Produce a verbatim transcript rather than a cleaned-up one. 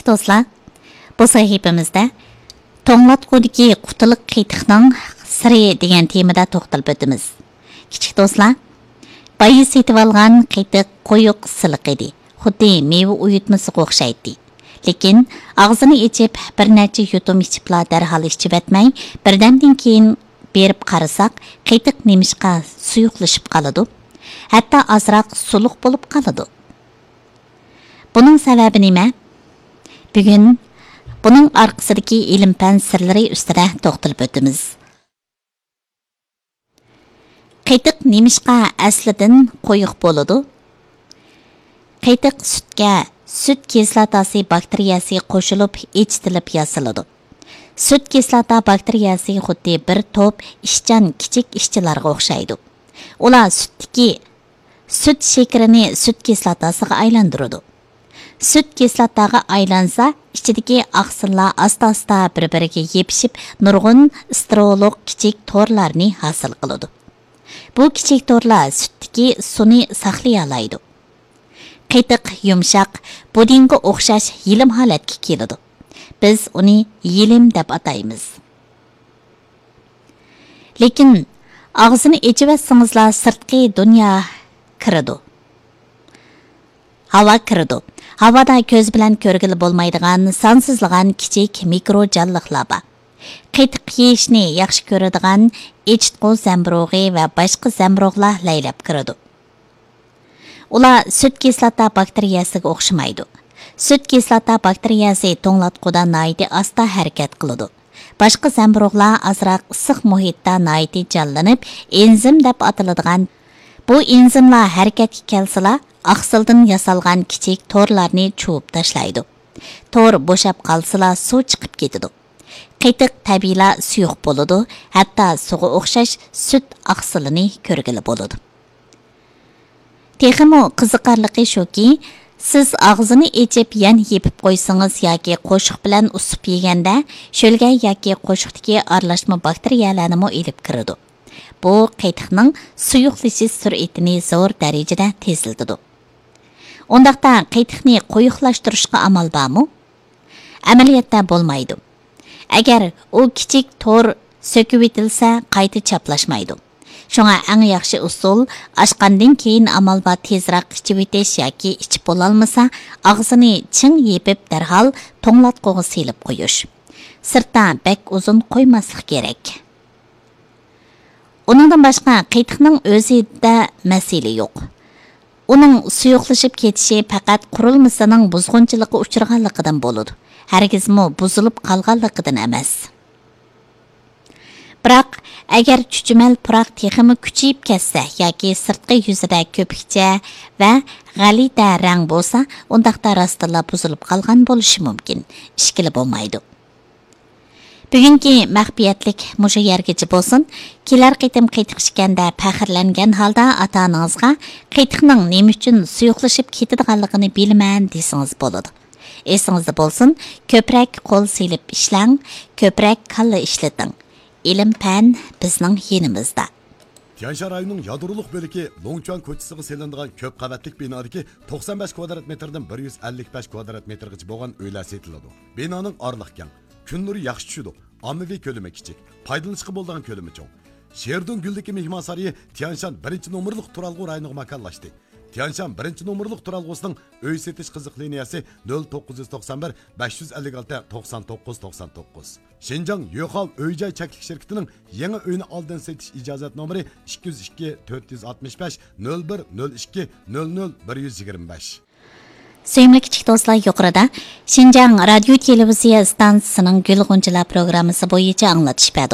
دوستلار، بۇ سەھىپىمىزدە توڭلاتقۇدىكى قۇتىلىق قېتىقنىڭ سىرى دېگەن تېمىدا توختىلىپ ئۆتىمىز. كىچىك دوستلار، بايا سېتىۋالغان قېتىق قويۇق سىلىق ئىدى. خۇددى مېۋە ئۇيۇتمىسىغا ئوخشايتتى. لېكىن ئاغزىنى ئېچىپ، بىر نەچچە يۇتۇم ئىچىپلا دەرھال ئىچىۋەتمەي، بىردەمدىن كېيىن بېرىپ قارىساق، قېتىق نېمىشقا سۇيۇقلىشىپ قالىدۇ؟ ھەتتا ئازراق سۇلۇق بولۇپ قالىدۇ. بۇنىڭ سەۋەبى نېمە؟ بۈگۈن بۇنىڭ ئارقىسىدىكى ئىلىم-پەن سىرلىرى ئۈستىدە توختىلىپ ئۆتىمىز. قېتىق نېمىشقا ئەسلىدىن قويۇق بولىدۇ؟ قېتىق سۈتكە سۈت كىسلاتاسى باكتېرىيەسى قوشۇلۇپ ئېچىتىلىپ ياسىلىدۇ. سۈت كىسلاتا باكتېرىيەسى خۇددى بىر توپ ئىشچان كىچىك ئىشچىلارغا ئوخشايدۇ. ئۇلار سۈتتىكى سۈت شېكىرىنى سۈت كىسلاتاسىغا ئايلاندۇرىدۇ. سۈت كىسلاتاغا ئايلانسا، ئىچىدىكى ئاقسىللار ئاستا-ئاستا بىر-بىرىگە يېپىشىپ، نۇرغۇن ستېرېئولۇق كىچىك تورلارنى ھاسىل قىلىدۇ. بۇ كىچىك تورلار سۈتتىكى سۇنى ساقلىيالايدۇ. قېتىق يۇمشاق، بۇدىڭغا ئوخشاش يېلىم ھالەتكە كېلىدۇ. بىز ئۇنى يېلىم دەپ ئاتايمىز. لېكىن ئاغزىنى ئېچىۋەتسىڭىزلا سىرتقى دۇنيا كىرىدۇ. ھاۋا كىرىدۇ. ھاۋادا كۆز بىلەن كۆرگىلى بولمايدىغان سانسىزلىغان كىچىك مىكرو جانلىقلار بار. قېتىق يېيىشنى ياخشى كۆرىدىغان ئېچىتقۇ زەمبۇرۇغى ۋە باشقا زەمبۇرۇغلار لەيلەپ كىرىدۇ. ئۇلار سۈت كىسلاتا باكتېرىيەسىگە ئوخشىمايدۇ. سۈت كىسلاتا باكتېرىيەسى توڭلاتقۇدا ناھايىتى ئاستا ھەرىكەت قىلىدۇ. باشقا زەمبۇرۇغلار ئازراق ئىسسىق مۇھىتتا ناھايىتى جانلىنىپ، ئېنزىم دەپ ئاتىلىدىغان بۇ ئېنزىملار ھەرىكەتكە كەلسىلا، ئاقسىلدىن ياسالغان كىچىك تورلارنى چۇۋۇپ تاشلايدۇ. تور بوشاپ قالسىلا، سۇ چىقىپ كېتىدۇ. قېتىق تەبىئىيلا سۇيۇق بولىدۇ، ھەتتا سۇغا ئوخشاش سۈت ئاقسىلىنى كۆرگىلى بولىدۇ. تېخىمۇ قىزىقارلىقى شۇكى، سىز ئاغزىنى ئېچىپ يەنە يېپىپ قويسىڭىز ياكى قوشۇق بىلەن ئۇسسۇپ يېگەندە، شۆلگەي ياكى قوشۇقتىكى ئارىلاشما باكتېرىيەلەرنىمۇ ئېلىپ كىرىدۇ. بۇ قېتىقنىڭ سۇيۇقلىشىش سۈرئىتىنى زور دەرىجىدە تېزلىتىدۇ. ئۇنداقتا قېتىقنى قويۇقلاشتۇرۇشقا ئامال بارمۇ؟ ئەمەلىيەتتە بولمايدۇ. ئەگەر ئۇ كىچىك تور سۆكۈۋېتىلسە، قايتا چاپلاشمايدۇ. شۇڭا ئەڭ ياخشى ئۇسۇل، ئاچقاندىن كېيىن ئامال بار تېزراق ئىچىۋېتىش ياكى ئىچىپ بولالمىسا، ئاغزىنى چىڭ يېپىپ، دەرھال توڭلاتقۇغا سېلىپ قويۇش. سىرتتا بەك ئۇزۇن قويماسلىق كېرەك. ئۇنىڭدىن باشقا، قېتىقنىڭ ئۆزىدە مەسىلە يوق. ئۇنىڭ سۇيۇقلىشىپ كېتىشى پەقەت قۇرۇلمىسىنىڭ بۇزغۇنچىلىققا ئۇچرىغانلىقىدىن بولىدۇ، ھەرگىزمۇ بۇزۇلۇپ قالغانلىقىدىن ئەمەس. بىراق، ئەگەر چۈچۈمەل پۇراق تېخىمۇ كۈچىيىپ كەتسە ياكى سىرتقى يۈزىدە كۆپۈكچە ۋە غەلىتە رەڭ بولسا، ئۇنداقتا راستتىنلا بۇزۇلۇپ قالغان بولۇشى مۇمكىن. ئىشكىلى بولمايدۇ. بۈگۈنكى مەخپىيەتلىك مۇشۇ يەرگىچە بولسۇن. كېلەر قېتىم قېتىق ئىچكەندە پەخىرلەنگەن ھالدا ئاتا-ئانىڭىزغا «قېتىقنىڭ نېمە ئۈچۈن سۇيۇقلىشىپ كېتىدىغانلىقىنى بىلىمەن» دېسىڭىز بولىدۇ. ئېسىڭىزدە بولسۇن، كۆپرەك قول سېلىپ ئىشلەڭ، كۆپرەك كاللا ئىشلىتىڭ. ئىلىم-پەن بىزنىڭ يېنىمىزدا. تيەنشان رايونىنىڭ يادرولۇق بۆلىكى لوڭچۈەن كوچىسىغا سېلىنىدىغان كۆپ قەۋەتلىك بىنادىكى توقسان بەش كۋادرات مېتىردىن بىر يۈز ئەللىك بەش كۋادرات مېتىرغىچە بولغان ئۆيلەر سېتىلىدۇ. بىنانىڭ ئارىلىقى كەڭ، كۈن نۇرى ياخشى چۈشىدۇ، ئاممىۋى كۆلىمى كىچىك، پايدىلىنىشقا بولىدىغان كۆلىمى چوڭ. شېردۇڭ گۈلدىكى مېھمانسارىيى تيەنشان بىرىنچى نومۇرلۇق تۇرالغۇ رايونىغا ماكانلاشتى. تيەنشان بىرىنچى نومۇرلۇق تۇرالغۇسىنىڭ ئۆي سېتىش قىزىق لىنىيەسى نۆل توققۇز يۈز توقسان بىر، بەش يۈز ئەللىك ئالتە، توقسان توققۇز، توقسان توققۇز. شىنجاڭ يۆخاۋ ئۆي جاي چەكلىك شىركىتىنىڭ يېڭى ئۆينى ئالدىن سېتىش ئىجازەت نومۇرى ئىككى يۈز ئىككى، تۆت يۈز ئاتمىش بەش، نۆل بىر، نۆل ئىككى، نۆل نۆل، بىر يۈز يىگىرمە بەش. سۆيۈملۈك كىچىك دوستلار، يۇقىرىدا شىنجاڭ رادىيو تېلېۋىزىيە ئىستانسىسىنىڭ گۈل غۇنچىلار پروگراممىسى بويىچە ئاڭلىتىش بەردۇق.